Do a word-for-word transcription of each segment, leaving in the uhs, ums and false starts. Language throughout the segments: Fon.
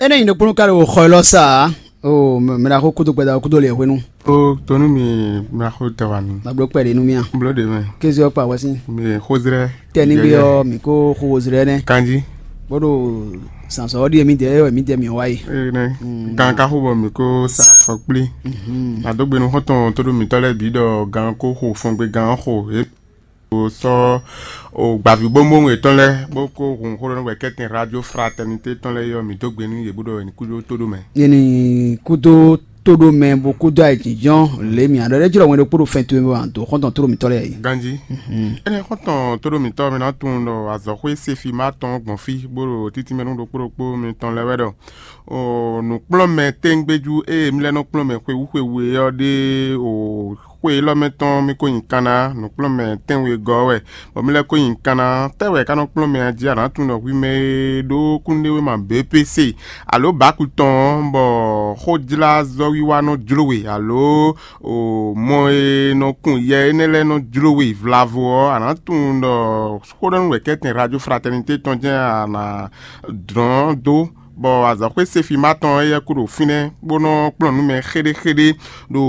É nɛ́ nyi ɖokpónɔ ka ɖo xɔ élɔ́ sa ǎ. O mɛ ɖaxó kúdó gbɛda kúdó lě hwenu. Ó tónú mi, mla xó tɛ wá mi. Ma bló kpɛɖé nú mì a? Bló ɖě mɛ. Kéze ɔ́ kpa wɛ́sin. Mi xózrɛ. Tɛnigbe ɔ́, mǐ kó xó wozrɛ nɛ́. Kanjí. Bó ɖo zǎnzɔ́ ɔ́ ɖíe mǐdɛɛ é wɛ mǐdɛɛ mǐ wá yi. Ée nɛ́. Gan ka xó bɔ mǐ kó sa afɔ kplí. Nǎ dó gbe nú xɔ́ntɔn tóɖó mǐtɔn lɛ́ɛ bǐ ɖɔ gan kó xo fɔngbe gan ɔ́ xo yě. Sɔ́ o gbǎví bóbówún yětɔn lɛ́ɛ bó kó hun xó ɖɔ nú wɛ̌kɛ́tɛn Radio Fraternité tɔn lɛ́ɛ é ɔ́, mǐ dó gbe nú yě bó ɖɔ è nǐ kú dó tóɖó mɛ. Yě ní kúdó tóɖó mɛ bó kúdó ayǐjínjɔ́n lě mǐ aɖɔ ɖé jlɔ́ wɛn ɖokpó ɖo fɛn towe mɛ wǎ dó xɔ́ntɔn tóɖó mǐtɔn lɛ́ɛ yě. Ganjí. Énɛ́ xɔ́ntɔn tóɖó mǐtɔn mi ná tunwun ɖɔ azɔ̌xwé Sefima tɔn gbɔn fí bó ɖo títí mɛ nú ɖokpó ɖokpó mitɔn lɛ́ɛ wɛ ɖɔ o nǔkplɔ́nmɛ téŋgbéjú e mí lɛ́ nɔ kplɔ́n mɛ xwewú xwewú é ɔ́ ɖe o xwe élɔ́ mɛ tɔn mì ko nyi kan ná nǔkplɔ́nmɛ tɛ́nwegɔ́ wɛ, bɔ mì lɛ́ ko nyi kan ná tɛ́ wɛ ka nɔ kplɔ́n mɛ a jí a nǎ tunwun ɖɔ hwi mɛ e ɖó kúnnuɖewéma B P C alo bǎku tɔn ɔ́, bɔ xójlázɔ́wiwa nɔ jló we alo o mɔ e nɔ kun yɛ énɛ́ lɛ́ɛ nɔ jló we vlavo ɔ́, a nǎ tunwun ɖɔ xó ɖɔ nú wɛ̌kɛ́tɛn Radio Fraternité tɔn jɛ́n a nǎ dlɔ́n dó. Bɔ azɔ̌xwé Sefima tɔn éyɛ́ kú ɖo fínɛ́ bó nɔ́ kplɔ́n nǔ mɛ xéɖéxéɖé ɖo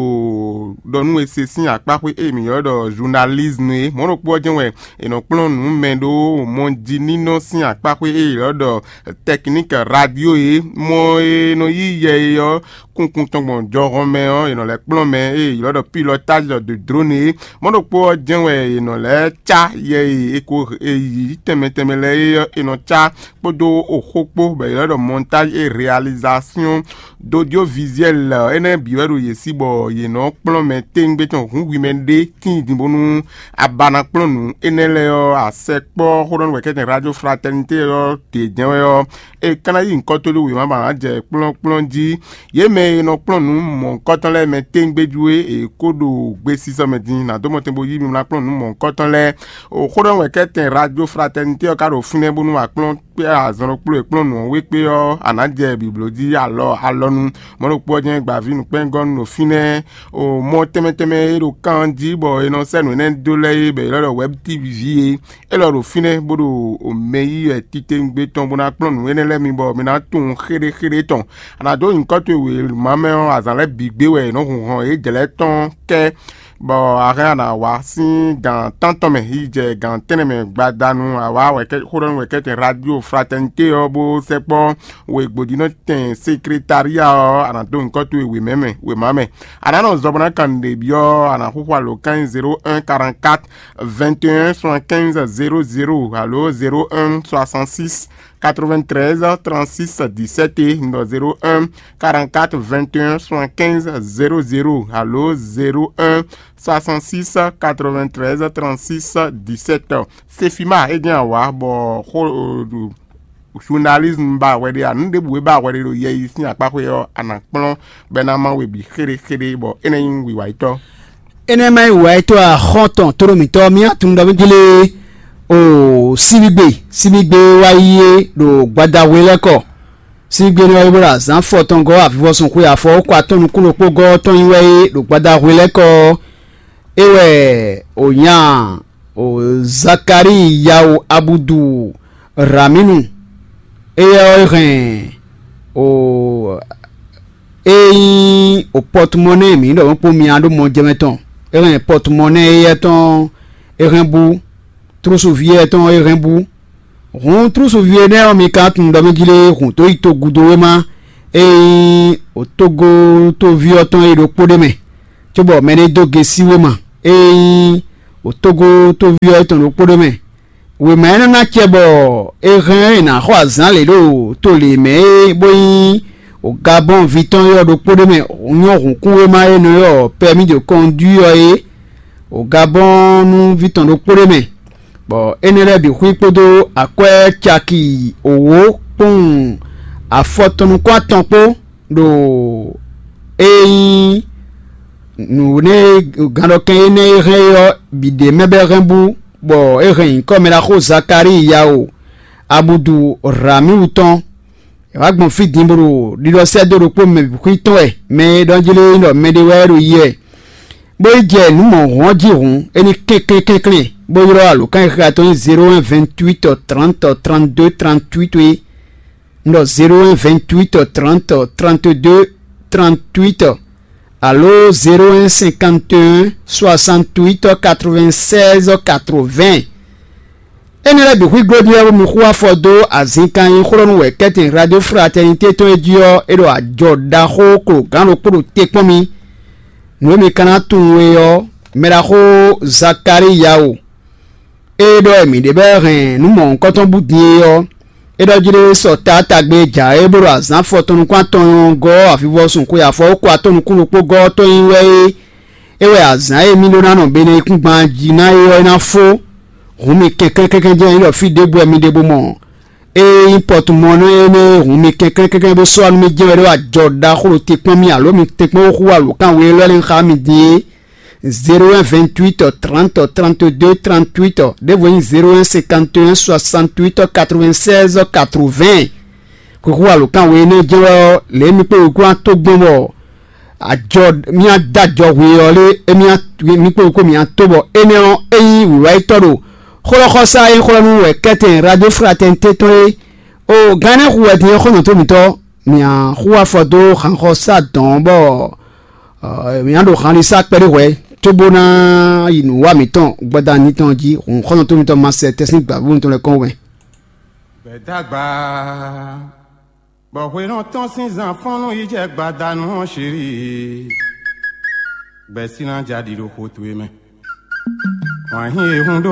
ɖɔ nú e se sín akpáxwé e mǐ ylɔ́ ɖɔ journalisme é. Mɔ̌ ɖokpó ɔ́ jɛ́n wɛ è nɔ kplɔ́n nǔ mɛ ɖó mɔjínínɔ sín akpáxwé e è ylɔ́ ɖɔ technique radio é. Mɔ e nɔ yí yɛ é ɔ́ kunkun tɔn gbɔn jɔhɔn mɛ ɔ́, è nɔ lɛ́ kplɔ́n mɛ e è ylɔ́ ɖɔ pilotage de drone é. Mɔ̌ ɖokpó ɔ́ jɛ́n wɛ è nɔ lɛ́ cá yɛ e è ko è yǐ tɛnmɛ tɛnmɛ lɛ́ɛ é ɔ́, è nɔ cá kpódó oxó kpó, bɔ è ylɔ́ ɖɔ montage et réalisation d'audiovisuel énɛ́ bǐ wɛ ɖo yě sí, bɔ yě nɔ kplɔ́n mɛ téŋgbé tɔn hǔn hwi mɛ ɖé tíin din bónú a ba ná kplɔ́n nǔ énɛ́ lɛ́ɛ ɔ́, a sɛkpɔ́ xó ɖɔ nú wɛ̌kɛ́tɛn Radio Fraternité ɔ́ ɖě jɛ́n wɛ ɔ́, è ka ná yí nyǐkɔ tó ɖó wěma ba ná jɛ kplɔ́nkplɔ́n jí. Yě mɛ e nɔ kplɔ́n nǔ mɔ̌hunkɔtɔn lɛ́ɛ mɛ téŋgbéjú é è kó ɖo gbesisɔ mɛ din, nǎ dó mɔtɛn bó yí mi ná kplɔ́n nǔ mɔ̌hunkɔtɔn lɛ́ɛ. O xó ɖɔ nú wɛ̌kɛ́tɛn Radio Fraternité ɔ́ ka ɖo fínɛ́ bónú a kplɔ́n kpé azɔn ɖokpó e kplɔ́n nǔ ɔ́ wé kpé ɔ́, a nǎ jɛ bǐbló jí alɔ alɔnu. Mɔ̌ ɖokpó ɔ́ jɛ́n gbaví nǔkpɛ́ngɔ́nú ɖo fínɛ́. O mɔ tɛnmɛ tɛnmɛ e ɖo kan ɔ́ jí bɔ è nɔ sɛ́ nǔ énɛ́ dó lɛ́ɛ é bɔ è ylɔ́ ɖɔ Wɛ̌b T V jí é, é lɔ ɖo fínɛ́ bó ɖo mɛ yí wɛ titewungbe tɔn bó ná kplɔ́n nǔ énɛ́ lɛ́ɛ mi bɔ mi ná tunwun xéɖéxéɖé tɔn. A nǎ dó nyǐkɔ towe wěma mɛ ɔ́, azǎn lɛ́ɛ bǐ gbé wɛ è nɔ hun hɔn yě jlɛ̌ tɔn kɛ́, bɔ a hɛn a nǎ wá sín gǎn tántɔn mɛ yi jɛ gǎn tɛ́nnɛ mɛ gbadanu a wá wɛ̌kɛ́ xó ɖɔ nú wɛ̌kɛ́tɛn Radio Fraternité ɔ́ bó sɛkpɔ́ wěgbodínɔtɛn sekretária ɔ́, a nǎ dó nyǐkɔ towe wěmɛ mɛ wěma mɛ. A nǎ nɔ zɔ bó ná kan nǔɖé byɔ́ a nǎ xúxú alǒkan zéro un quarante-quatre vingt et un soixante-quinze zéro zéro alo zéro un soixante-six quatre-vingt-treize trente-six dix-sept é, un zéro un quarante-quatre vingt et un soixante-quinze zéro zéro alo zéro un soixante-six quatre-vingt-treize trente-six dix-sept. Sefima é jɛ́n awǎ bɔ xó journalisme ba hwɛ ɖé a nǔ ɖěbǔ e ba hwɛ ɖé ɖo yɛ yi sín akpáxwé ɔ́, a nǎ kplɔ́n bɔ é ná má we bǐ xéɖéxéɖé bɔ é ná nyí wǐwá yětɔn. Énɛ́ ma nyí wǔwá yětɔn axɔ́ntɔn tóɖó mǐtɔn mì tunwun ɖɔ mí jlé o síbígbe síbígbe wá yí é ɖo gbadahwe lɛ́ɛ kɔ. Síbígbe énɛ́ wá yí bó ɖo azǎn fɔ tɔn gɔ́ avivɔsun xwe afɔ kɔ atɔn nukún ɖokpó gɔ́ tɔn nyi wɛ é ɖo gbadahwe lɛ́ɛ kɔ. É wɛ o nya o Zakari Yawu Abudu Raminu. Éyɛ́ ɔ́ é hɛn o é nyí o pɔtumɔnɛ́ mǐ ɖɔ mɔ̌ kpó mia ɖó mɔ jɛmɛ tɔn. É hɛn pɔtumɔnɛ́ éyɛ́ tɔn é hɛn bú, trúsuví éyɛ́ tɔn é hɛn bú. Hǔn trúsuví énɛ́ ɔ́, mi ka tunwun ɖɔ mí jlé hǔn tó yi togudowéma e nyí o tógótóví ɔ́ tɔn é ɖokpó ɖé mɛ, cóbɔ mɛ ɖé dó gesí wéma e nyí o tógótóví ɔ́ tɔn ɖokpó ɖé mɛ. Wěma énɛ́ ná acɛ bɔ è hɛn ɔ́ è nǎ xɔ azǎn lě ɖo to lě mɛ é bó nyí o Gabɔ́n ví tɔn ɔ́ ɖokpó ɖé mɛ nyɔ́ hǔnkúnwéma e nɔ ylɔ́ pɛ́mí de kɔndui ɔ́ é. O Gabɔ́n nú ví tɔn ɖokpó ɖé mɛ, bɔ énɛ́ lɛ́ɛ bǐ xwí kpódó akwɛ́ caki wǒ kpowun afɔtɔn nukún atɔn kpó ɖo é nyí nǔ énɛ́ e gǎnɖɔkɛn énɛ́ e hɛn é ɔ́ bǐ ɖ'é mɛ bɔ é hɛn bú, bɔ é hɛn nyǐkɔ mɛ ɖaxó Zakalíi Yawu Abudu Ramiwu tɔn. È wǎ gbɔn fí din bó ɖo ɖiɖɔ sɛ́ dó ɖokpó mɛ bǐ xwí tɔn wɛ, mɛ e ɖɔ jlé nyí ɖɔ mɛɖé wɛ é ɖo yi wɛ, bó yi jɛ nǔ mɔ̌hun ɔ́ jí hǔn, é ní kɛnklɛ́n kɛnklɛ́n, bó ylɔ́ alǒkan e xixo tɔn nyí zéro un vingt-huit trente trente-deux trente-huit é. Un ɖɔ zéro un vingt huit trente trente deux trente huit, alo zéro un cinquante un soixante huit quatre vingt seize quatre vingt. Énɛ́ lɛ́ɛ bǐ xwíglo ɖíe bónú xú afɔ dó azǐnkan e nyí xó ɖɔ nú wɛ̌kɛ́tɛn Radio Fraternité tɔn é jí ɔ́, é ɖo ajɔ ɖaxó klogán ɖokpó ɖo te kpɔ́n mì. Nǔ e mi ka ná tunwun é ɔ́, mɛ ɖaxó Zakalíyawu, é ɖɔ wɛ mǐ ɖe bɔ é hɛn nǔ mɔ̌hunkɔtɔn bú din é ɔ́, é ɖɔ jí ɖé sɔ taatagbe e jǎwe bó ɖo azǎn afɔtɔn nukún atɔn nyɔ́ gɔ́ avivɔsun xwe afɔwókɔ atɔn nukún ɖokpó gɔ́ ɔ́ tɔn nyi wɛ é. É wɛ azǎn e mì ɖó ná nɔ beneyíkúngban jí ná é ɔ́ é ná fó. Hǔn mi kɛnklɛ́n kɛnklɛ́n jɛ́n é ɖɔ fí ɖěbǔ wɛ mi ɖe bó mɔ. Ée nyí pɔtumɔnɔ énɛ́ e hun mi kɛnklɛ́n kɛnklɛ́n bó sɔ́ nú mì jɛ́n wɛ ɖó ajɔ ɖaxó ɖo te kpɔ́n mì alo mi tɛ́nkpɔ́n xú alǒkan we élɔ́ lɛ́ɛ xá mì din é. Zéro un vingt huit trente trente deux trente huit, ɖěvo nyí zéro un cinquante un soixante huit quatre vingt seize quatre vingt. Xixú alǒkan we énɛ́ jɛ́n wɛ ɔ́, lě e mi kpé wǔ kplɔ́n tó gbɔn bɔ ajɔ mì adó ajɔ hwe ɔ́ lé, émí mì kpó ko mì ato bɔ énɛ́ ɔ́, é nyí wǐwáyítɔ́ ɖo xlɔ́xɔsá e xlɔ́ nú wɛ kɛ́tɛn Radio Fraternité tɔn é. O gán énɛ́ hu wɛ din ɔ́, xɔ́ntɔn tó mǐtɔn, mì axú afɔ dó hanxɔsá dɔn bɔ mì ná ɖo hanlisa kpɛɖé hwɛ̌, cóbó ná yi nǔ wa mǐtɔn gbada nítɔn jí. Hǔn xɔ́ntɔn tó mǐtɔn ma sɛ tɛ́sín gbǎvú mitɔn lɛ́ɛ kɔn wɛ. Gbɛ̌dagba, bɔ hwenɔ tɔn sín zan fɔ́n nú yi jɛ gbadanu ɔ́, Siri, gbɛ̌ sín ná ja ɖi ɖo xo towe mɛ. Wǎn hín e hun ɖó